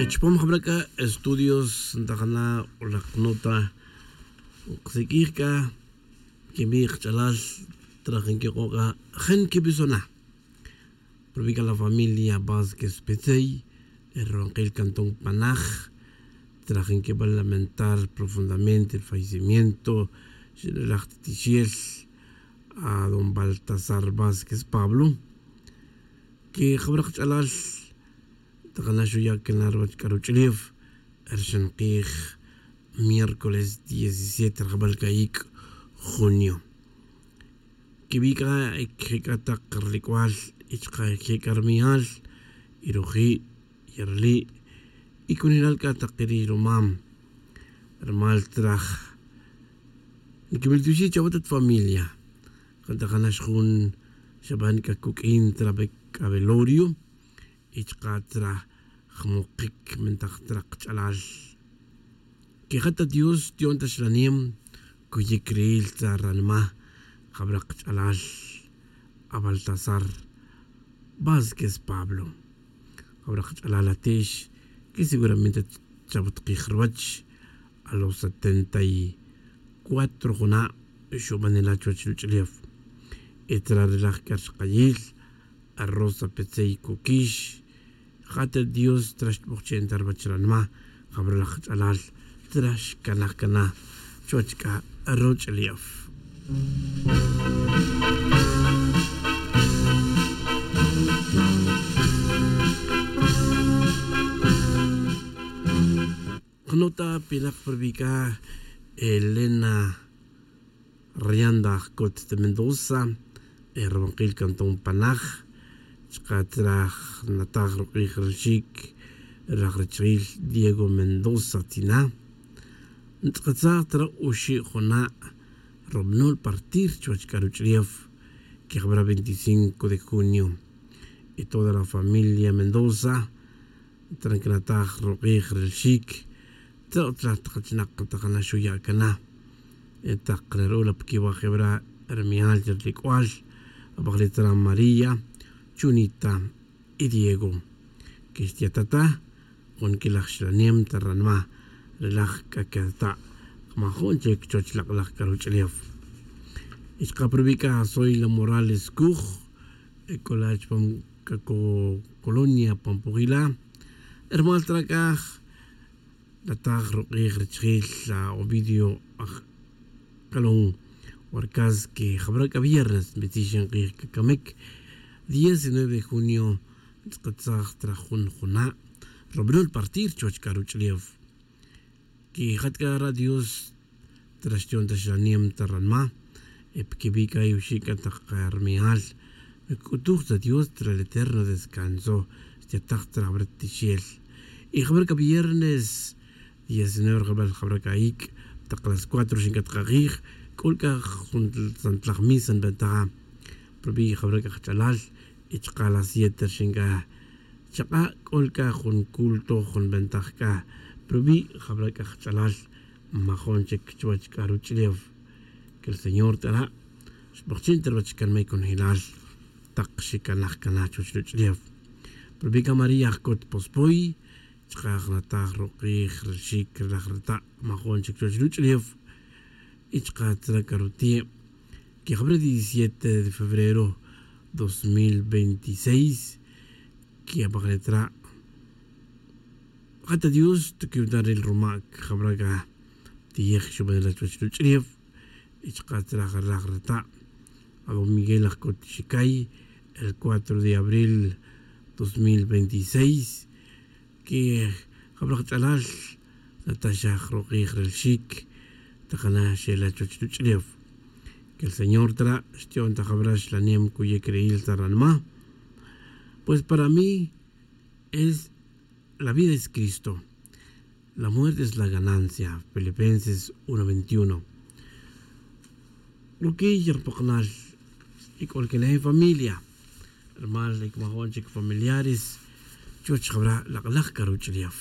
Chupam jab'elak estudios ntajana laq nota nqasik'ij k'a kib'i' qach'alal trajen kiq'oka jan kib'isona rub'i' k'a la familia Vásquez Petzey e cantón Panaj trajen nkib'än lamentar profundamente el fallecimiento laj ti tichi'el a don Baltazar Vásquez Pablo ke jab'äl qach'alal taqana' xuya' kana ruwäch ruwach'ulew rxan q'ij miércoles 17 rajb'al ka'ik' junio kib'i' k'a jek'a taq ralk'wal y chuqa' jek'a rmi'al, ruji', rali' y konojel k'a taq riy rumam ruma traj nkib'altyoxij chawe tat familia jantajanäx jun xab'än k'a kuk'in k'a velorio y chuqa' tra muqik mentaj qach'alal ke ja ta Dios tiyon ta uxlanem kuyik ril ta ranima jab'elaq qach'alal a Baltazar Vásquez Pablo jab'elaq qach'alal atex que seguramente chawatqij ruwäch a los 74 juna' xub'anela' chuwäch ruwach'ulew etrarelaj k'a rixjayil a Rosa Petzey Kukix ja ta Dios traxtb'ojche'n ta ruwäch ranima jab'elaj qach'alal tra xkanaj kana chuwäch k'a ruwach'ulew. Nota pinaq perbika Elena Rianda Cot de Mendoza Erwanqil Cantón Panaj chuqa' traj nataj ruq'ij rixik raj richil Diego Mendoza Tina ntz'aqatzaj tra oxi' juna' rub'anol partir chuwäch k'a ruwach'ulew kejab'era 25 de junio y toda la familia Mendoza trankinataj ruq'ij rilxik tra utziläj taq achinaq taqana xuya' kana taq rerula kiwajib'ra rmi'al rik'wal ab'ajlitra María, Chonita y Diego ke xtiyatata jun ki'laj uxlanem ta ranima ri laj k'a ketata' majun chik chuwäch loq'oläj ruwach'ulew. Y chuqa' pa rub'i' k'a Zoila Morales Kuj e k'o la chupam colonia Pampujila ruma trak'aj nataj ruq'ij richijil la Ovidio aj Kalon Warkas ke jab'era k'a viernes nb'itzixin q'ij kakamik 19 de junio ntz'aqatzaj tra jun juna' rub'anol partir chuwäch k'a ruwach'ulew ki jat k'a ra Dios traxtion ta xranem ta ranma epkib'i' k'a yoxi' k'a taq rmi'al nk'utuj ta Dios tra el eterno descanso xtiyataj tra tichiel y jab'era k'a viernes 19 rajb'al jab'era k'a'ik taq las 4 xinkatqaq'ij k'ul k'a jun santlaj misa nb'antaja prob'i' jab'era k'a qach'alal y chuqa' las 7 xink'a chaq'a' k'ul k'a jun culto jun b'antaj k'a prob'i' jab'era k'a qach'alal majun chik chuwäch k'a ruwach'ulew que el Señor t'ara' xb'oqchin ta ruwäch kan may konojilal taq xikanaj kana chuwäch ruwach'ulew prob'i' k'a María Ajkot Pospoy chuqa' nataj ruq'ij rixik laj rata' majun chik chuwäch ruwach'ulew y chuqa' tra karutie' que jab'era 17 de febrero 2026 que ab'ajletra jata Dios tukiwta ril rumak jab'era k'a tiyej xub'anela chuwäch ruwach'ulew y chuqa' traj laj rata' a don Miguel Ajkot Xikay el 4 de abril 2026 que jab'ela qach'alal nataxaj ruq'ij rilxik taqana xela chuwäch ruwach'ulew que el Señor tra xtiyon ta jab'era uxlanem kuyek reil ta ranima pues para mí es la vida es Cristo, la muerte es la ganancia. Filipenses 1:21. Rukiy rpoqonal ik'olkinej familia rmal ikmajon chik familiares chuwäch jab'era laq'laj k'a ruwach'ulew.